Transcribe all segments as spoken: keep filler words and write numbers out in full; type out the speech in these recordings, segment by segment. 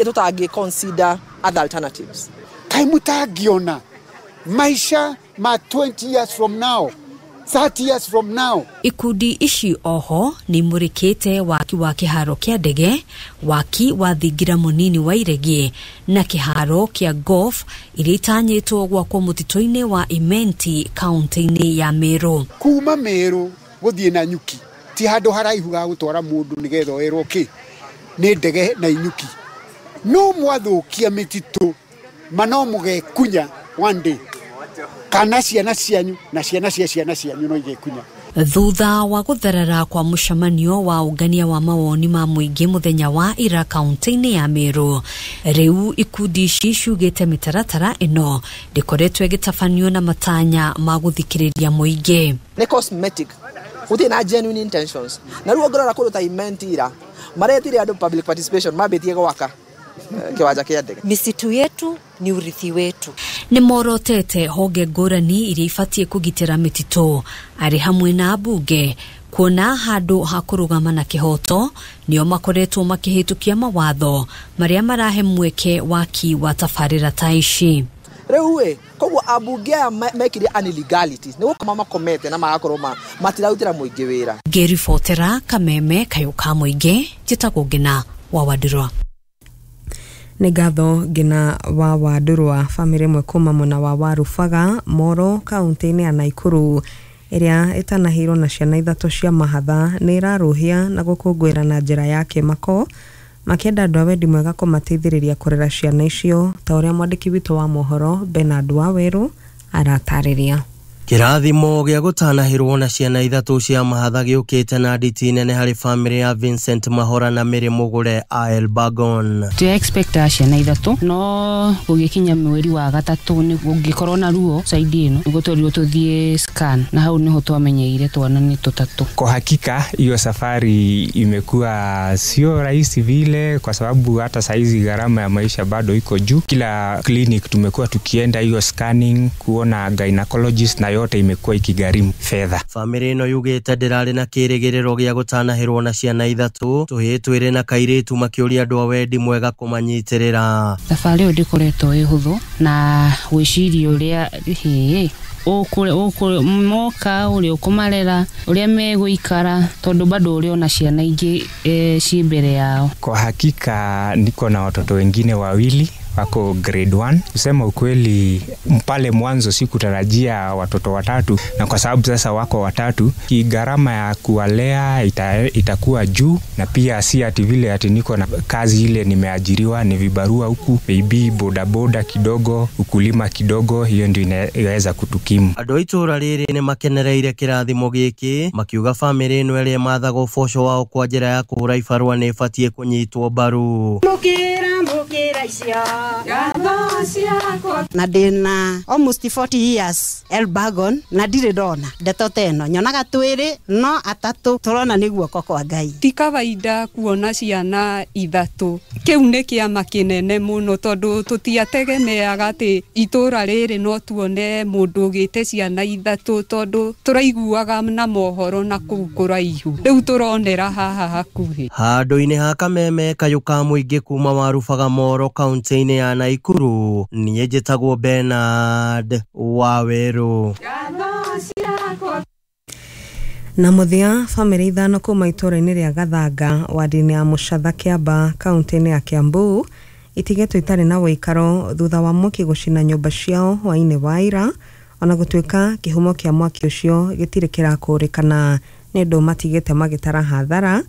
Tũtangĩ consider other alternatives? Kaĩ mũtangĩona maisha ma twenty years from now, thirty years from now? Ikundi ici oho nĩ imũrĩkĩte waki wa kĩharo kĩa ndege, waki wa thingira mũnini wa iregi na kĩharo kĩa golf iria itanyĩtwo gwakwo mũtitũ-inĩ wa Imenti kaunti-inĩ ya Meru. Kuma Meru gũthiĩ na nyuki ti handũ haraihu ga gũtwara mũndũ nĩgetha oerwo kĩ nĩ ndege na inyuki. No mwathũkia mĩtitũ ma no mũgekunya one day, kana ciana cianyu na ciana cia ciana cianyu no igekunya. Thutha wa gũtherera kwa mũcemanio wa ũngania wa mawoni ma mũingĩ mũthenya wa ira kaunti-inĩ ya Meru, rĩu ikundi ici ciugĩte mĩtaratara ĩno ndĩkoretwo ĩgĩtabanio na matanya ma gũthikĩrĩria mũingĩ. Nĩ cosmetic, gũtirĩ na genuine intentions. Na rĩu ũngĩrora kũndũ ta Imenti ira maretire andũ public participation mambĩtie gwaka kiwanja kĩa ndege. Misitu yetu ni urithi wetu. Nĩ morotete honge ngũrani iria ibatiĩ kũgitĩra mĩtitũ arĩ hamwe na ambunge kuona handũ ha kũrũgama na kĩhoto nĩo makoretwo makĩhĩtũkia mawatho marĩa marahe mweke waki wa tabarĩra ta ici. Rĩu ĩ koguo ambunge aya mekire an illegalities nĩ gũkoma makomete na magakorwo matirarutĩra mũingĩ wĩra. Ngĩribotera Kameme Kayũ ka Mũingĩ, njĩtagwo Ngina wa Wandũrwa. Nĩ ngatho Ngina wa Wandũrwa. Bamĩrĩ ĩmwe kuma mwena wa Warubaga Moro kaunti-inĩ ya Naikuru ĩrĩa ĩtanahĩirwo na ciana ithatũ cia mahatha nĩ ĩrarũhia na gũkũngũĩra na njĩra ya kĩmako makĩenda andũ a wendi mwega kũmateithĩrĩria kũrera ciana icio ta ũrĩa mwandĩki witũ wa mohoro Bernard Waweru aratarĩria. Kĩrathimo gĩa gũtanahĩrwo na ciana ithatũ cia mahatha gĩũkĩte na nditi nene harĩ bamĩrĩ ya Vincent Mahora na Mary Mũgũre a Elbagon. Tũ expect ciana ithatũ no gũgĩkinya mweri wa gatatũ nĩ gũngĩkorwo na ruo side ĩno nĩguo twerirwo tũthiĩ scan na hau nĩho twamenyeire twana nĩ tũtatũ. Kwa hakika hiyo safari imekuwa sio rahisi vile, kwa sababu hata saizi gharama ya maisha bado iko juu. Kila clinic tumekuwa tukienda hiyo scanning kuona gynecologist na yote imekuwa ikigharimu fedha. Bamĩrĩ ĩno yugĩte ndĩrarĩ na kĩrĩgĩrĩro gĩa gũtanahĩrwo na ciana ithatũ tũhĩĩ twĩrĩ na kairĩtu makĩũria andũ a wendi mwega kũmanyitĩrĩra. Thabarĩ ĩyo ndĩkoretwo ĩ hũthũ na gwĩciria ũrĩa hĩ ũkũrĩ moka ũrĩa ũkũmarera ũrĩa megũikara tondũ bado ũrĩ ona ciana ingĩ ciĩ mbere yao. Kwa hakika niko na watoto wengine wawili wako grade one. Kusema ukweli pale mwanzo sikutarajia watoto watatu, na kwa sababu sasa wako watatu gharama ya kuwalea ita, itakuwa juu, na pia si ati vile ati niko na kazi ile nimeajiriwa, ni vibarua huku maybe boda boda kidogo, ukulima kidogo, hiyo ndio inaweza kutukimu. Andũ a itũũra rĩrĩ nĩ makenereire kĩrathimo gĩkĩ makiuga bamĩrĩ ĩno ĩrĩa ĩmathaga ũboco wao kwa njĩra ya kũhũra ibarũa nĩ ĩbatiĩ kũnyitwo mbaru. Na ndĩna almost forty years Elbagon na ndirĩ ndona ndeto ta ĩno, nyonaga twĩrĩ no atatũ tũrona nĩ guoko kwa Ngai. Ti kawaida kuona ciana ithatũ, kĩu nĩ kĩama kĩnene mũno tondũ tũtiategemeaga atĩ itũũra rĩrĩ no tuone mũndũ ũgĩte ciana ithatũ tondũ tũraiguaga na mohoro na kũu kũraihu, rĩu tũronera haha hakuhĩ. Handũ-inĩ ha Kameme Kayũ ka Mũingĩ kuma Warubaga Moro kaunti-inĩ ya Naikuru, niĩ njĩtagwo Bernard Waweru. Na mũthia bamĩrĩ ithano kuma itũũra-inĩ rĩa Gathanga wadi-inĩ ya Mũcatha Kĩamba kaunti-inĩ ya Kiambu itigetwo itarĩ na ũikaro thutha wa mwaki gũcina nyũmba ciao hwaĩ-inĩ wa ira, ona gũtuĩka kĩhumo kĩa mwaki ũcio gĩtirĩ kĩrakũrĩkana nĩ ũndũ matigĩte magĩtara hathara.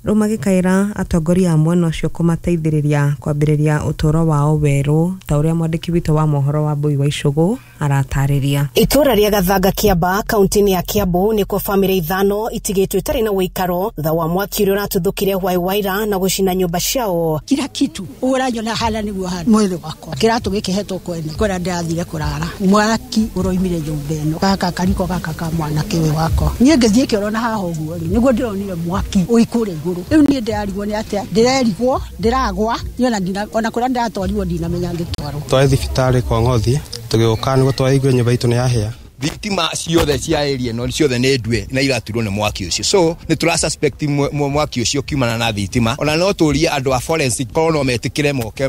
Rĩu magĩkaĩra atongoria a mwena ũcio kũmateithĩrĩria kwambĩrĩria ũtũũro wao werũ ta ũrĩa mwandĩki witũ wa mohoro wa Mbui wa Icũgũ aratarĩria. Itũũra rĩa Gathanga Kĩamba kaunti-inĩ ya Kiambu nĩkuo bamĩrĩ ithano itigĩtwo itarĩ na ũikaro thutha wa mwaki ũrĩa ũratuthũkire hwaĩ wa ira na gũcina nyũmba ciao. Kila kitu ũranyona hala nĩguo hana mwĩrĩ wakwa kĩratũ gĩkĩ hetwo kwene kũrĩa ndĩrathire kũrara mwaki ũroimire nyũmba ĩno gaka kariko gaka ka mwanake ũyũ wakwa niĩ ngĩthiĩ kĩoro na haha ũguo rĩ nĩguo ndĩronire mwaki ũikũrĩa igũrũ. Rĩu niĩ ndĩrarigwo nĩ atĩa, ndĩrerigwo ndĩragwa ona kũrĩa ndĩratwarirwo ndinamenya ngĩtwarwo. Twarĩ thibitarĩ kwa Ng'othi tũgĩũka nĩguo twaigua nyũmba itũ nĩ yahĩa Thitima ciothe cia area ĩno ciothe nĩ ndue na iraturwo nĩ mwaki ũcio, so nĩ tũra suspect mwaki ũcio kiumana na thitima. Ona no tũrie andũ a forensic korwo no metĩkĩre moke.